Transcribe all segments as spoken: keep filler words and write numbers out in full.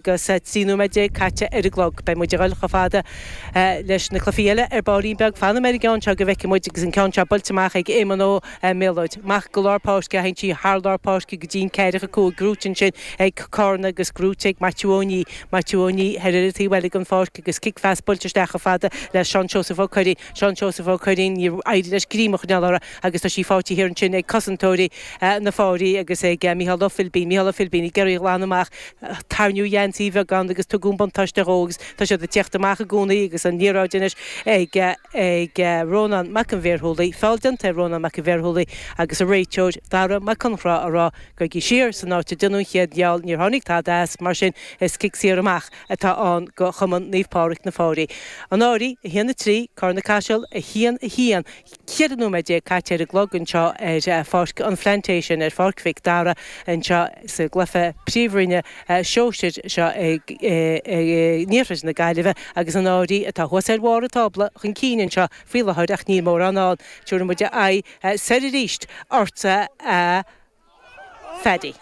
Agus trí nóiméad déag caite ar an gclog. Beidh muid ag dul chomh fada leis na cluichí eile ar baillín beag. Fanfaidh mé ar an gceann seo go bhfeicfidh muid agus an ceann seo buailte amach ag Éamonn Ó Méalóid. Amach go lár páirce, théann sí thar lár páirce go dtí an ceathracha cúig, gnóite ansin ag Carna agus gnóite ag Maitiú Ó Ní. Maitiú Ó Ní ar an taobh eile den pháirc agus cic phas buailte isteach chomh fada le Seán Seosamh Ó Curraoin. Seán Seosamh Ó Curraoin, níor éirigh leis greim a choinneáil uirthi agus tá sí faighte thiar ansin ag cosantóirí na Fáirí agus ag Micheál Ó Philbín. Micheál Ó Philbín ag iarraidh a ghlanadh amach. Tarraingíodh a gheansaí beagán agus tugadh an buntáiste dhó agus tá siad ag tíocht amach i gcónaí agus an liathróid anois ag ag Rónán Mac an Bhéarshúlaigh. Feall déanta ar Rónán Mac an Bhéarshúlaigh agus an réiteoir Dara Mac Conchra á rá gabhaigí siar san áit a déanadh an chéad fheall. Níor tháinig tada as, mar sin is cic saor amach atá ann go Chumann Naomh Pádraig na Fáirí. An Fháirí, a haon a trí, Carna Caiseal, a haon a haon. Ceithre nóiméad déag caite ar an gclog anseo ar Pháirc an Phlantation, ar Pháirc Mhic Dara anseo sa gcluiche Príomhroinne Sóisir seo in iarthar na Gaillimhe agus an Fháirí atá thuas ar bharr an tábla chun cinn anseo faoi láthair ach níl mórán ann. Tabharfaidh muid aghaidh soir arís ortsa a Phaddy.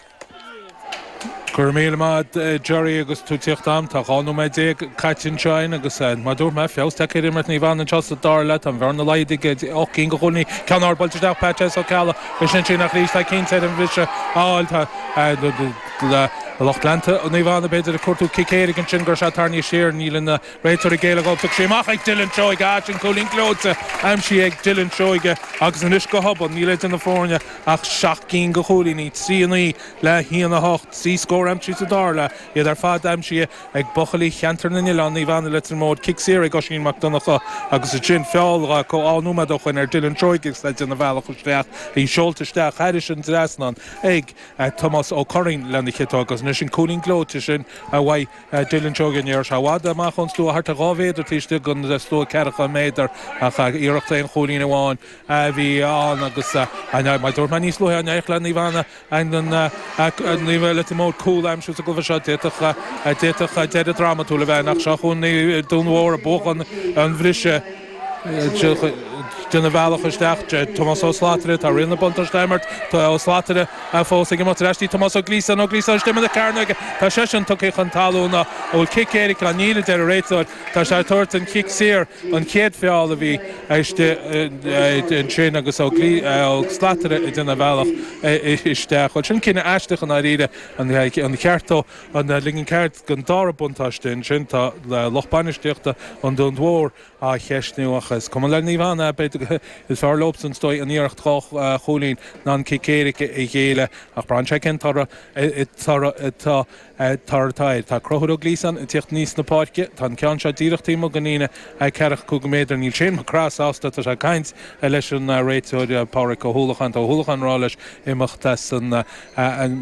Go raibh míle maith Jerry agus tú tíocht am tá dhá nóiméad déag caite anseo agus mar dúirt mé feabhas tagtha ar imirt Naomh Anna anseo sa dara leath tá an bhearna laghdaithe ocht gcinn de chúilíní ceann ard buailte isteach Pat Ó Ceallaigh is sin nach arís tá cinnte ar an bhriseadh a fháil tá lucht leanta Naomh Anna b'fhéidir ag cuartú cic éirice ansin gur sé tarraingthe siar níl an réiteoir ag géilleadh thug sé amach ag Dylan Seoige sin cúilín gleoite aimsithe ag Dylan Seoige agus anois go hobann níl idir na foirne ach seacht gcinn de chúilíní trí a naoi le haon a hocht trí scór aimsithe sa dara leath iad ar fad aimsithe ag buachaillí cheantar na nOileán Naomh Anna Leitir Móir cic saor ag Oisín Mac Donncha agus sin feall có á nóiméad ó shin ar Dylan Seoige agus le déanamh bealach isteach í seolta isteach thairis an trasnán ag Tomás Ó Curraoin lena chiotóg agus anois an cúilín gleoite sin a bhain Dylan Seoige ní sé bhfad amach ón stua thart ar dhá mhéadar taobh istigh den stua ceathracha méadar ach iarracht aon chúilín amháin a bhí ann agus mar dúirt mé níos luaithe an éireodh le Naomh Anna an Naomh Leitir Móir cúl a aimsiú sa gcluiche seo d'fhéadfadh d'fhéadfadh deireadh drámatúil a bheith ach seo chugainn Dún Mhór ag buachan an bhriseadh déanamh bealach isteach Tomás Ó Slatara tá riail na buntáiste á imirt Tá Ó Slatara fós ag imeacht ar ais Tomás Ó Glíosáin Ó Glíosáin istigh ina cearnóige Tá seisean tugtha chun talún a bhfuil cic éirice níl a deir an réiteoir Tá sé tabhairt an chic saor an chéad feall a bhí ansin agus Ó Slatara ag déanamh bealach isteach. Well sin cinneadh aisteach an airíre an cheartó an ligean ceart den dara buntáiste ansin tá lucht bainistíochta an Dún Mhór á cheistniú ach is cuma le Naomh Anna b'fhéidir is fearr leosan stoi an iarracht dhá chúilín ná an cic éirice a ghéilleadh ach braitheann sé cén toradh toradh atá air. Tá Conchúr Ó Glíosáin ag tíocht aníos na páirce, tá an ceann seo díreach taobh amuigh den líne ceathracha cúig méadar níl Shane Mac Craith sásta tá sé ag caint leis an réiteoir Pádraig Ó hUallacháin Tá Ó hUallacháin rá leis imeacht as an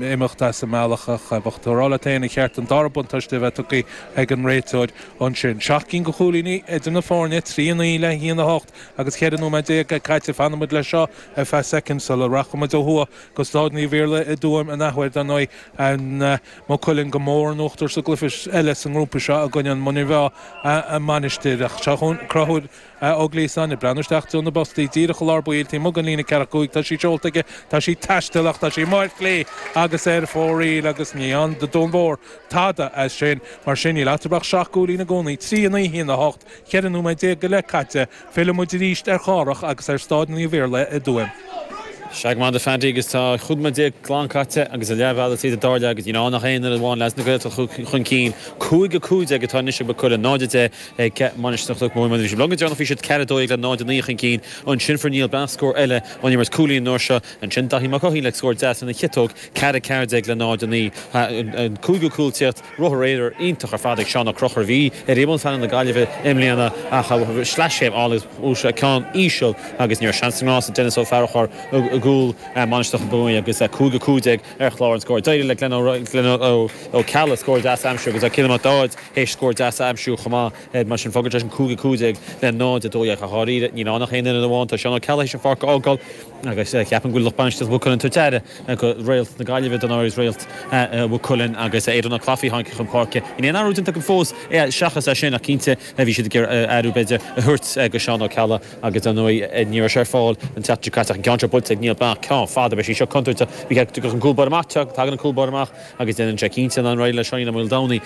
imeacht as an mbealach ach bheadh tú rá le féin an cheart an dara buntáiste a bheith tugtha ag an réiteoir ansin. Seacht gcinn de chúilíní idir na foirne trí a naoi le haon a hocht agus ceithre nóiméad déag caite fanfaimid leis seo ar feadh soicind sula rachaimid ó thuaidh go Stáid Naomh Iarla i dTuaim an athuair dar ndóigh an Maigh Cuilinn go mór in uachtar sa gcluiche eile sa ngrúpa seo i gcoinne an Muine Mheá a Mainistir ach seo Conchúr Ó Glíosáin ag breathnú isteach de na boscaí díreach i lár baill taobh amuigh den líne ceathracha cúig tá sí seolta aige tá sí taisteal ach tá sí amuigh ar chlé agus ar fóraoil agus ní ann do Dún Mhór tada as sin mar sin níl eatarthu ach seacht gcúilín i gcónaí trí a naoi haon a hocht ceithre nóiméad déag go leith caite fillfidh muid arís ar Chárthach agus ar Stáid Naomh Iarla i dTuaim. Sea go maith a Phaddy agus tá cúig nóiméad déag glan caite agus a leathbhealach tríd an dara leath agus níl ann ach aon amháin leis na Gaeltacht chun cinn cúig a cúig déag atá anois ag Maigh Cuilinn náid a deich ag Mainistir Chnoc Mhuire bhí sé long déanamh bhí siad ceathair dó le náid a naoi chun cinn ansin fuair Niall Breathnach scór eile ón imirt cúilín uair seo ansin Daithí Mac Cothain le scór deas ina chiotóg ceathair ceathair déag le náid a naoi an cúigiú cúl tíocht rothar aoir iontach ar fad ag Seán Ó Conchúir a bhí ar imeall phainéal na Gaillimhe i mbliana ach sleaschéim álainn agus ceann íseal agus ní raibh seans sa ngrás Dennis Ó Fearchar i gcúl Mainistir Chnoc agus cúig a cúig déag ar chlár an scóir. D'éirigh le Glenn Ó Ceallaigh scór deas a aimsiú agus Cillian Mac Dáid théis scór deas a aimsiú chomh maith mar sin fágann sé sin cúig a cúig déag le náid a dó dhéag a dháiríre níl ann ach aon duine amháin tá Seán Ó Ceallaigh théis an pháirc a fhágáil agus ceapaim go bhfuil lucht bainistíochta Mhaigh Cuilinn tabhairt aire go réalt na Gaillimhe don áirid réalt Mhaigh Cuilinn agus Aidan Ó Clafaí tháinig chun páirce. Níl aon athrú déanta acu fós seachas é sin ach cinnte bhí siad ag athrú b'fhéidir a thabhairt go Seán Ó Ceallaigh agus ar ndóigh ní raibh sé ar fáil an tseachtain seo caite ach an ceann seo buailte ag Niall Amach ceann fada beidh sí seo contúirteach bhí an cúl báire amach tagann an cúl báire amach agus déanann sé cinnte an réidh le Seáinín Ó Maoldomhnaigh